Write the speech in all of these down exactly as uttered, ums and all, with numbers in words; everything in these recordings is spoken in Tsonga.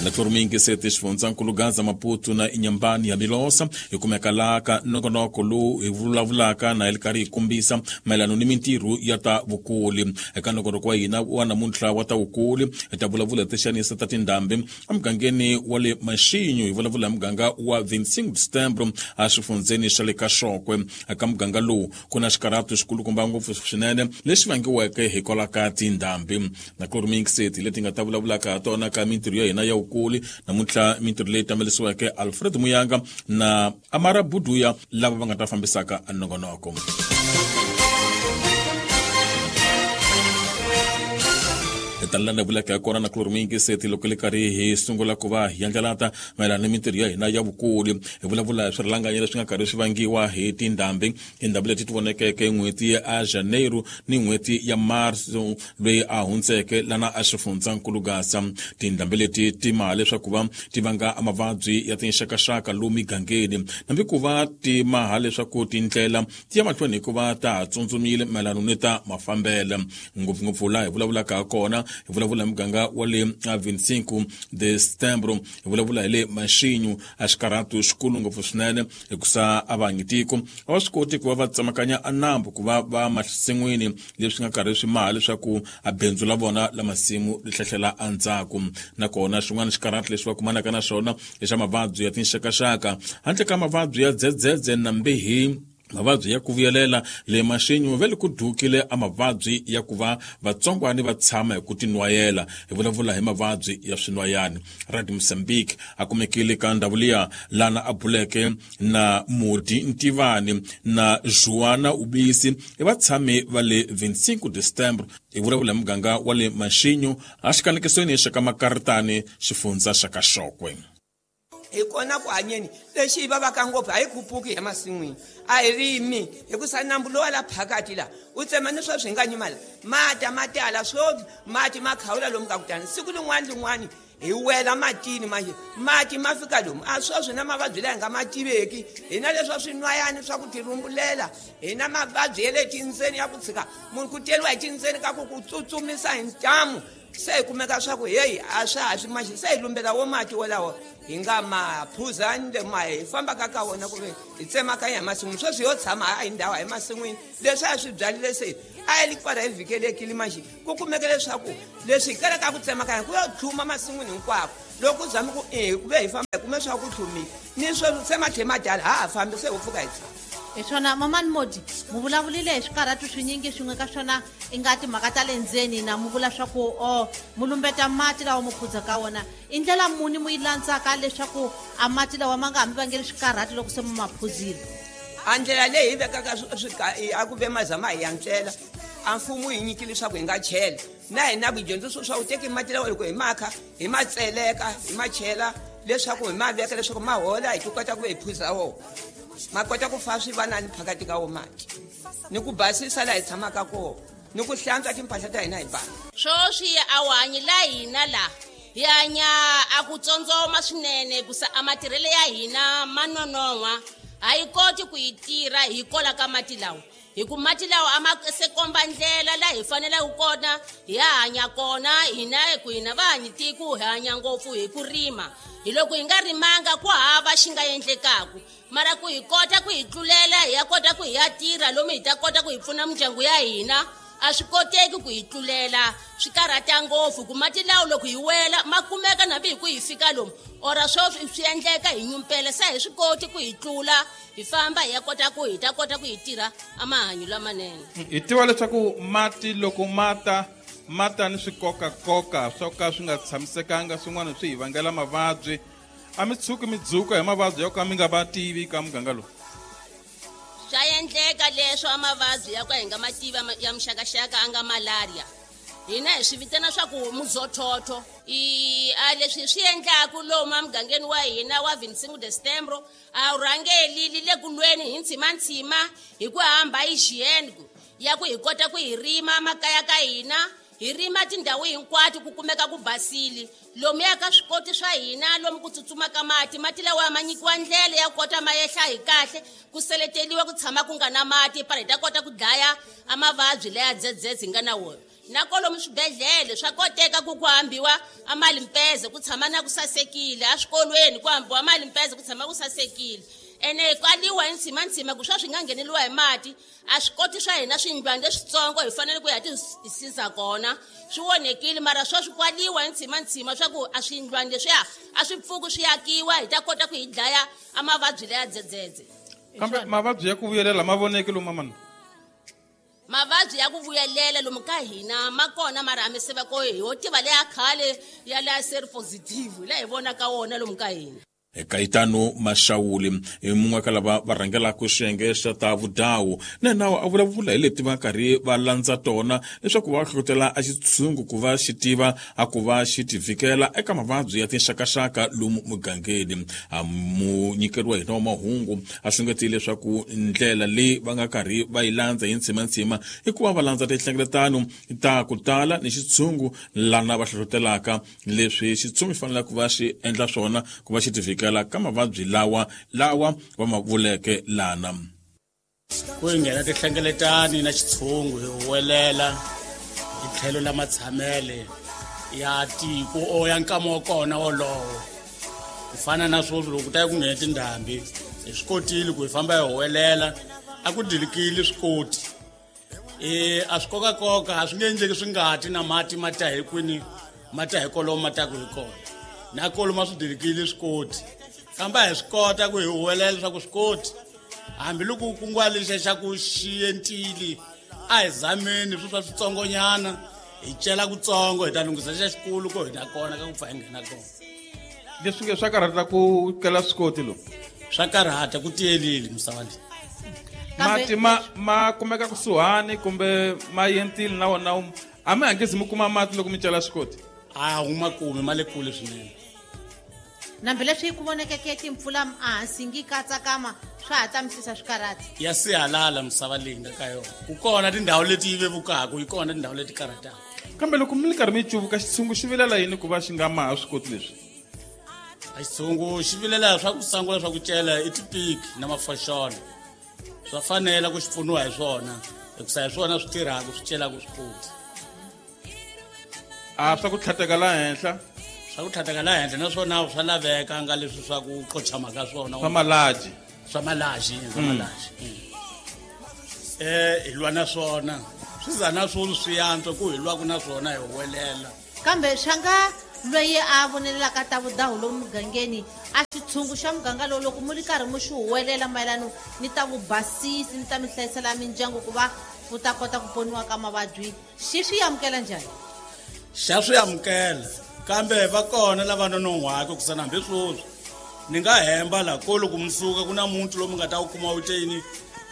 Naklormingiseti xifundzankulu Gaza, Maputo na Inyambani ya Milosa hi kumeka laha ka nongonoko lowu hi vulavulaka na hi ri karhi hi kombisa mayelana ni mintirho ya ta vukuli. Eka nongonoko wa hina wa namuntlha wa ta vukuli hi ta vulavula hi tixanisa ta tindhambi emugangeni wa le Maxinyo. Hi vulavula hi muganga wa vinte e cinco de Setembro exifundzeni xa le ka Xokwe. Eka muganga lowu ku na xikarhato xikulukumba ngopfu swinene lexi vangiweke hikwalaho ka tindhambi. Naklormingiseti leti nga ta vulavulaka ha tona ka mintirho ya hina ya vukuli namuntlha, mintirho leyi tamelisiweke Alfred Muyanga na Amara Buduya lava va nga ta fambisaka nongonoko. Hi ta landa vulaka ya kona na kulormingiseti loko le karhi hi sungula ku va hi yandlalata mayelana ni mintirho ya hina ya vukuli. Hi vulavula hi swirhalanganyi leswi nga karhi swi vangiwa hi tindhambi, tindhambi leti ti vonekeke n'hweti ya Janeiro ni n'hweti ya Marso loyi a hundzeke lana a xifundzankulu Gaza. Tindhambi leti ti maha leswaku va ti vanga mavabyi ya tinxakaxaka lomu migangeni, hambi ku va ti maha leswaku tindlela ti ya mahlweni hikuva ta ha tsundzumile mayelana ni ta mafambelo. Ngopfungopfu laha hi vulavulaka ha kona, hi vulavula hi muganga wa le vinte e cinco de Setembro, hi vulavula hi le Maxinyo, a xikarhato xikulu ngopfu swinene hikusa a va tiko a va swi koti ku va va tsemakanya a nambu ku va va masin'wini, leswi nga karhi swi maha leswaku a bindzu la vona la masimu ri hlehlela endzhaku. Nakona xin'wana xikarhato lexi va kumanaka na xona i xa mavabyi ya tinxakaxaka, handle ka mavabyi ya dzedzedze na mbihi, mavabyi ya ku vuyelela. Le Maxinyo va le ku dukile a mavabyi ya ku va vatsongwani va tshama hi ku tinwayela, hi vulavula hi mavabyi ya swinwayani. Radio Mozambique a kumekile ka ndhawu liya lana a buleke na Modi Ntivani na Joana Ubisi, i vatshami va le vinte e cinco de Setembro, hi vulavula hi muganga wa le Maxinyo a xikanekisweni xa ka Makaritani, xifundza xa ka Xokwe. Hi kona ku hanyeni lexi hi vavaka ngopfu, a hi khupuki hi masin'wini, a hi rimi hikusa nambu lowa la phakati la u tsema ni sweswi hi nga nyimala mata ma tala swo mati ma khawula lomu ka kutani siku lin'wana lin'wani hi wela matini manje mati ma fika lomu a sweswi na mavabyi laha hi nga ma tiveki hi na leswa swinwayani swa ku tirhumbulela, hi na mavabyi ya le tindzeni ya ku tshika munhu ku teriwa hi tindzeni ka ku ku tsutsumisa hi ntamu. Se hi kumeka swa ku heyi a swa ha swi maxi se hi lumbela wo mati wolawo hi nga ma phuzani le ma hi fambaka ka wona ku ve hi tsemakanya hi masin'wini. Sweswi yo tshama a hi ndhawu hi masin'wini leswi a swi byalile se a hi li kwala hi vhikelekile maxi ku kumeke leswaku leswi hi kalaka ku tsemakanya ku yo tlhuma masin'wini hinkwako. Loko ku zami ku e ku ve hi famba hi kume swa ku tlhumile ni sweswi se ma tlhe ma dala ha ha fambi se ho pfuka hi tshama. Hi swona, mamani Modi, mu vulavulile hi swikarhatu swinyingi, swin'we ka swona i nga timhaka ta le ndzeni na mu vula swa ku o mu lumbeta mati lawa mu phuza ka wona. I ndlela muni mu yi landzaka leswaku a mati lawa ma nga ha mi vangeli swikarhatu loko se mu ma phuzile? A ndlela leyi hi vekaka a ku ve mazama hi yantswela a mfumo hi nyikile leswaku hi nga chela na hina ku dyondzisiwa swa ku teki mati lawa loko hi makha hi ma tseleka hi ma chela leswaku hi ma veka leswaku ma hola hi ti kota ku ve hi phuza wona ma kota ku fa swivanani phakati ka wo mati ni ku basisa laha hi tshamaka kona ni ku hlantswa timpahla ta hina hi basa. Swoswi a wu hanyi la hina la hi hanya a ku tsondzoma swinene kusa a matirhelo ya hina ma nonon'hwa, a yi koti ku yi tirha hi kola ka mati lawa, hi ku mati lawa a ma se komba ndlela laha hi faneleke kona hi ya hanya kona hina hi ku hina va hanyi tiko hi hanya ngopfu hi ku rima. Hi loko hi nga rimanga ku hava xi nga endlekaku, mara ku hi kota ku hi tlulela hi ya kota ku hi ya tirha lomu hi ta kota ku hi pfuna mindyangu ya hina, a swi koteki ku hi tlulela, swi karhata ngopfu ku mati lawa loko hi wela ma kumeka nambi hi ku hi fika lomu ora swo swi endleka hi nyumpela se hi swi koti ku hi tlula hi famba hi ya kota ku hi ta kota ku hi tirha a mahanyo lamanene. Hi tiva leswaku mati loko mata mata ni swikokakoka swo ka swi nga tshamisekanga, swin'wana swi hi vangela mavabyi. A mi tshuki mi dzuka hi mavabyi yo ka mi nga va tivi ka muganga lowu? Swa endleka leswo a mavabyi ya ku hi nga ma tivi ya muxakaxaka a nga malaria, hina hi swi vitana swa ku muzothotho. I a leswi swi endlaku lomu emugangeni wa hina wa vinte e cinco de Setembro a wu rhangeli li le ku lweni hi ntshimantsima hi ku hamba hygiene ya ku hi kota ku hi rima makaya ka hina, hi rima tindhawu hinkwato ku kumeka ku basile lomuya ka swikoti swa hina lomu ku tsutsumaka mati, mati lawa ma nyikiwa ndlela ya kota ma yehla hi kahle, ku seleteliwa ku tshama ku nga na mati para hi ta kota ku dlaya a mavabyi leya dzedzedze hi nga na wona. Na kolomu swibedhlele swa koteka ku ku hambiwa a malimpeze ku tshama na ku sasekile, eswikolweni ku hambiwa malimpeze ku tshama ku sasekile. Ene kwaliwa hi ntshimantsima ku swa swi nga ngheneliwa hi mati, a swi koti swa hina swindlwana leswitsongo hi fanele ku ya ti siza kona. Swi onhekile mara sweswi kwaliwa hi ntshimantsima swa ku a swindlwana leswiya a swi pfuki swi akiwa, hi ta kota ku hi dlaya a mavabyi leya dzedzedze. Kambe mavabyi ya ku vuyelela ma voneki lomu mamana? Mavabyi ya ku vuyelela lomu ka hina ma kona, mara a mi se va ko hi ho tiva leya khale ya leya seropositive laha hi vonaka wona lomu ka hina. Kaitano Mashawuli hi mun'we ka lava va rhangelaka xiyenge xa ta vudawu na nawu a vulavula hi leti va karhi va landza tona leswaku va hlohlotela a xitshungu ku va xi tiva a ku va xi ti vhikela eka mavabyi ya tinxakaxaka lomu mugangeni. A munyikeri wa hina wa mahungu a xungetile leswaku ndlela leyi va nga karhi va yi landza hi ntshimantsima i ku va va landza tinhlengeletano ta ku tala ni xitshungu lana va hlohlotelaka leswi xitshungu xi faneleke ku va xi endla swona ku va xi ti vhikela ka mavabyi lawa lawa va ma vuleke lana. Ku hi nghena tinhlengeletani na xitshungu hi huwelela hi tlhelo la matshamele ya tiko o ya nkama wa kona wolowo. Ku fana na sweswi loko ku ta ku nghena tindhambi hi swi kotile ku hi famba hi huwelela, a ku dilikile swikoti. E a swi kokakoka a swi nge endleki swi ngati na mati ma ta hi kwini, ma ta hi kolomo ma taku hi kona. Na kolomo swi dilikile swikoti, kambe a hi swi kota ku hi huwelela leswaku swikoti hambiloko ku kunguwa lexiya xa ku xi entile a hi zameni swi swa switsongonyana hi cela kutsongo hi ta lunghisa xa xikulu ko hi na kona ka ku pfa hi nghena kona. Leswi nge swa karhata ku kela swikoti lo? Swa karhata ku tiyelile misava leyi. Mati ma ma kumeka kusuhani kumbe ma entile na wona a mi hangezi mi kuma mati loko mi cela swikoti? A wu ma kumi, ma le kule swinene. Nambileswi ku vonekeke timpfula ehansi ngi katsakama swa ha tamisisa swikarhati. Ya sihalala misava leyi nga ka yona. Ku kona tindhawu leti yi vevukaka, yi kona tindhawu leti karhataka. Kambe loko mi ri karhi mi cuvuka xitshungu xi vilela yini ku va xi nga maha swikoti leswi? A xitshungu xi vilela swa ku sangula swa ku cela i tipiki na mafoxolo. Swa fanela ku xi pfuniwa hi swona, hikusa hi swona swi tirhaka swi celaka swikoti. A swa ku tlhateka laha henhla? Swa ku tlhateka laha henhla naswona swa laveka nga leswi swa ku qochama ka swona. Swa malaji. Swa malaji, swa malaji. Eh hi lwa na swona. Swi za na swona swi yantswa ku hi lwaku na swona hi huwelela. Kambe swa nga loyi a vonelelaka ta vudawu lomu mugangeni a xitshungu xa muganga lowu loko mi ri karhi mi xi huwelela mayelano ni ta vubasisi ni ta mi hlayisela mindyangu ku va ku ta kota ku poniwa ka mavabyi, xi swi amukela njhani? Xa swi amukela, kambe va kona lava nonon'hwaka ku sana hambi sweswi ni nga hemba la ko loko mi suka ku na muntu lomu nga ta wu kuma wu te yini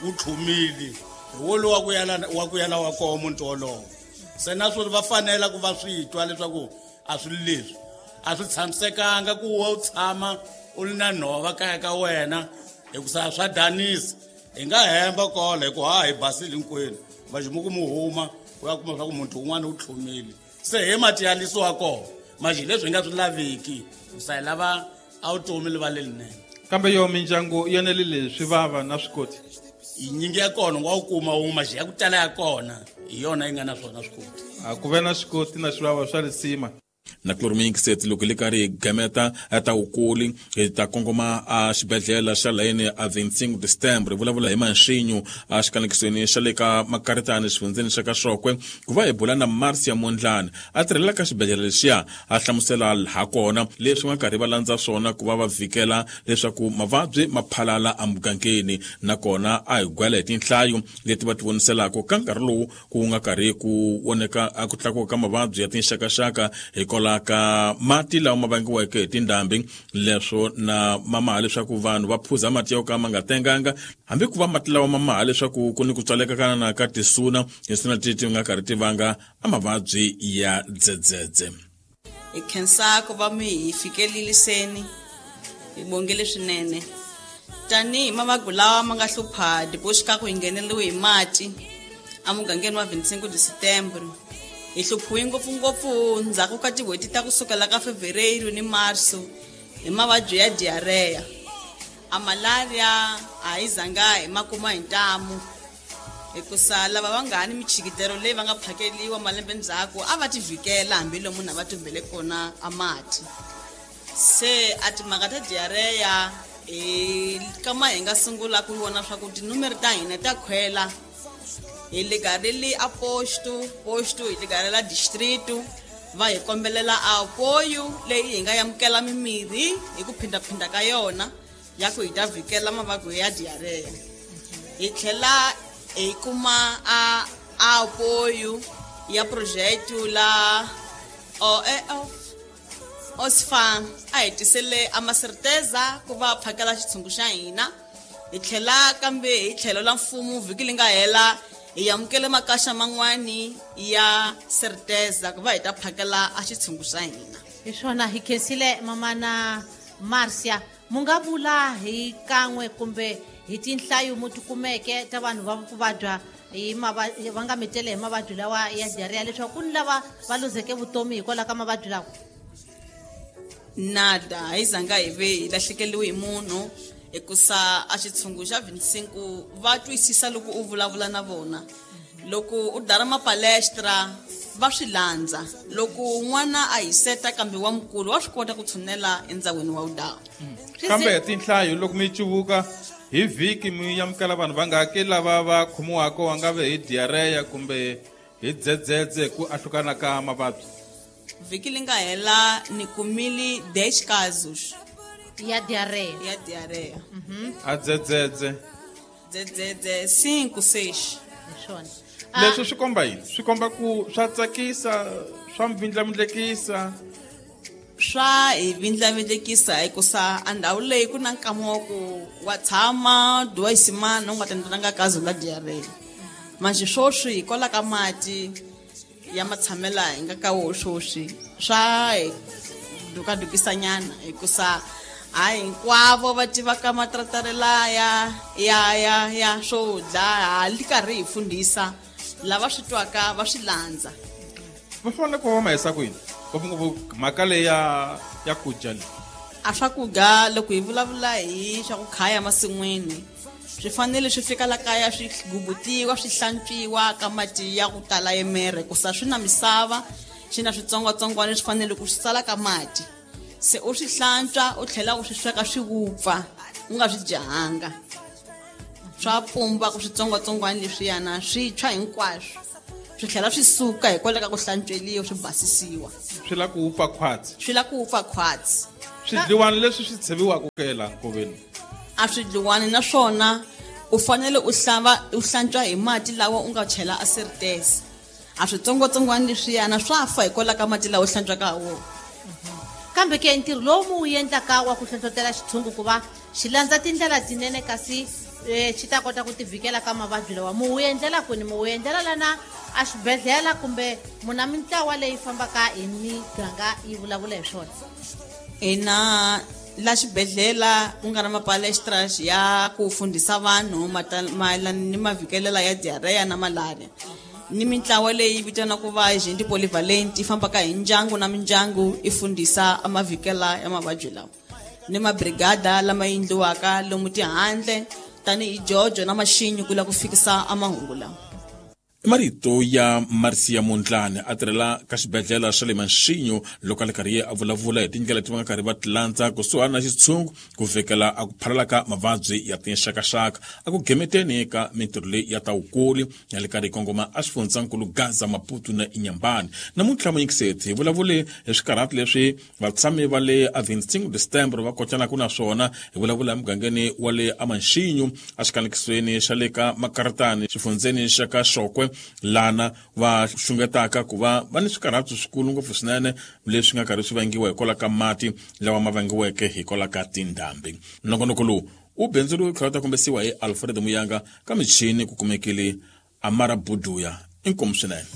wu tlhumile hi wolowo wa ku yala wa ku yala wa koho muntu wolowo. Se na swona va fanela ku va swi twa leswaku a swi leswi a swi tshamisekanga ku wa u tshama u ri na nhova kaya ka wena hikusa swa danisa. Hi nga hemba kola hi ku ha hi basile hinkwenu vaximuku mu huma u ya kuma swa ku muntu un'wana u tlhumile. Se hi mati ya lisiwa kona manje leswi hi nga swi laveki hikusa hi lava a vutomi li va lelinene. Kambe yo mindyangu yi enelile swi vava na swikoti? Yinyingi ya kona u nga wu kuma wun'we, manje ya ku tala ya kona hi yona yi nga na swona swikoti. A ku ve na swikoti na swivava swa risima. Na chloromixet loko li karhi hi gameta ta wukuli hi ta kongoma a xibedhlele xa layeni a vinhtingu December hi vulavula hi Manxinyu a xikanekisweni xa le ka Makaritani xifundzeni xa ka Xokwe ku va hi bula na Marcia Mondlane a tirhela ka xibedhlele lexiya a hlamusela ha kona leswi nga karhi va landza swona ku va va vhikela leswaku mavabyi ma phalala emugangeni, nakona a hi gwela hi tinhlayo leti va ti voniselaka ka nkarhi lowu ku nga karhi ku voneka a ku tlakuka ka mavabyi ya tinxakaxaka hikwalaho ka mati lawa ma vangiweke hi tindhambi leswo na mamaha leswaku vanhu va phuza mati yo ka ma nga tenganga, hambi ku va mati lawa mamaha leswaku ku ni ku tswaleka ka na ka tisuna hi sina ti ti nga karhi ti vanga a mavabyi ya dzedzedze. Hi khensa ku va mi hi fikeleliseni hi bongele swinene tanihi mavabyi lawa ma nga hlupha dipoxikaku hi ngheneliwe hi mati emugangeni wa vinhtingu December. Hi hluphiwe ngopfungopfu ndzhaku ka tin'hweti ta kusukela ka Fevereiro ni Marso hi mavabyi ya diarrhea. A malaria a yi zanga hi ma kuma hi ntamu. Hikusa lava va nga ni michikitelo leyi va nga phakeliwa malembe ndzhaku a va tivikela hambi munhu a va tumbele kona a mati. Se a timhaka ta diarrhea hi kama hi nga sungula ku vona swa ku tinumere ta hina ta khwela hi le gareli a posto posto hi le garela distrito va hi kombelela apoyo leyi hi nga yamukela mimirhi hi ku phindaphinda ka yona ya ku hi ta vhikela mavabyi ya diarrhea. Hi tlhela hi kuma a apoyo ya project la o e Osfam a hi tisele a maserteza ku va phakela xitshungu xa hina. Hi tlhela kambe hi tlhelo la mfumo vhiki li nga hela hi amukele makaxa man'wani ya certeza ku va hi ta phakela a xitshungu xa hina. Hi swona hi khensile mamana Marcia. Mu nga vula hi kan'we kumbe hi tinhlayo mu ti kumeke ta vanhu va ku vabya hi va nga mitele hi mavabyi lawa ya diarrhea leswaku ku ni lava va luzeke vutomi hikwalaho ka mavabyi lawa? Nada, hi zanga hi ve hi lahlekeliwe hi munhu hikusa a xitshungu xa vinte e cinco va twisisa loko u vulavula na vona. Loko u dara mapalestra va swi landza. Loko n'wana a hiseta kambe wa mukulu wa swi kota ku tshunela endzawini wa wudawu. Kambe tinhlayo loko mi cuvuka hi vhiki mi amukela vanhu va nga hakeli lava va khomiwaka va nga ve hi diarrhea kumbe hi dzedzedze ku ahlukana ka mavabyi. Vhiki li nga hela ni kumile dez casos ya diarrhea. Ya diarrhea. A dzedzedze. Dzedzedze cinco seis. Hi swona. Leswi swi komba yini? Swi komba ku swa tsakisa, swa mvindlamindlekisa. Swa hi vindlavindlekisa hikusa a ndhawu leyi ku na nkama wa ku wa tshama duwa isimana u nga tendzelanga kazo la diarrhea. Manje swoswi hikwalaho ka mati ya matshamela hi nga ka wo swoswi swa hi dukadukisanyana hikusa a hinkwavo va tivaka matratere laya ya ya ya swo dya ha li karhi hi fundhisa lava swi twaka va swi landza. Va fanele ku va ma hisa kwini ngopfungopfu mhaka leyi ya ya ku dya leyi? A swakudya loko hi vulavula hi swa ku khaya masin'wini swi fanele swi fika la kaya swi gubutiwa swi hlantswiwa ka mati ya ku tala yemere kusa swi na misava swi na switsongwatsongwana swi fanele ku swi sala ka mati. Se u swi hlantswa u tlhela u swi sweka swi vupfa u nga swi dyanga. Swa pumba ku switsongwatsongwana leswiyana swi tshwa hinkwaswo swi tlhela swi suka hikwalaho ka ku hlantsweliwa swi basisiwa. Swi la ku wupfa khwatsi. Swi la ku wupfa khwatsi. Swidliwani leswi swi tsheviwaka ke laha nkoveni? A swidliwani naswona u fanele u hlamba u hlantswa hi mati lawa u nga chela a certeza. A switsongwatsongwana leswiyana swa fa hikwalaho ka mati lawa u hlantswaka ha wona. Kambe ke ntirho lowu mu wu endlaka wa ku hlohlotela xitshungu ku va xi landza tindlela tinene kasi xi ta kota ku tivikela ka mavabyi lawa mu wu endlela kwini? Mu wu endlela lana a xibedhlele kumbe muna mintlawa leyi fambaka hi miganga yi vulavula hi swona? Hina la xibedhlele ku nga na mapalestras ya ku fundhisa vanhu mayelana ni mavhikelela ya diarrhea na malaria. Ni mintlawa leyi vitaniwaka va gente polyvalent yi fambaka hi ndyangu na mindyangu yi fundhisa mavikela ya mavabyi lawa. Ni mabrigada lama endliwaka lomu tihandle tanihi Jojo na Maxinyi ku la ku fikisa amahungu lawa. Marito ya Marcia Mondlane a tirhela ka xibedhlele xa le Maxinyo loko a le karhi a vulavula hi tindlela leti va nga karhi va ti landza kusuhani na xitshungu ku fikela a ku phalala ka mavabyi ya tinxakaxaka a ku gemeteni ka mintirho leyi ya ta wukuli ya le karhi yi kongoma a xifundzankulu Gaza, Maputo na Inhambane. Namuntlha muyingiseti hi vulavule hi swikarhati leswi vatshami va le a vinte e cinco de setembro va kotanaka na swona. Hi vulavula emugangeni wa le aMaxinyo exikanekisweni xa le ka Makaritani xifundzeni xa ka Xokwe lana va xungetaka ku va va ni swikarhati swikulu ngopfu swinene leswi nga karhi swi vangiwa hikwalaho ka mati lawa ma vangiweke hikwalaho ka tindhambi. Nongonoko lowu wu bindzuriwe tlhela ta kombisiwa hi Alfred Muyanga ka michini ku kumekile Amara Buduya. Inkomu swinene.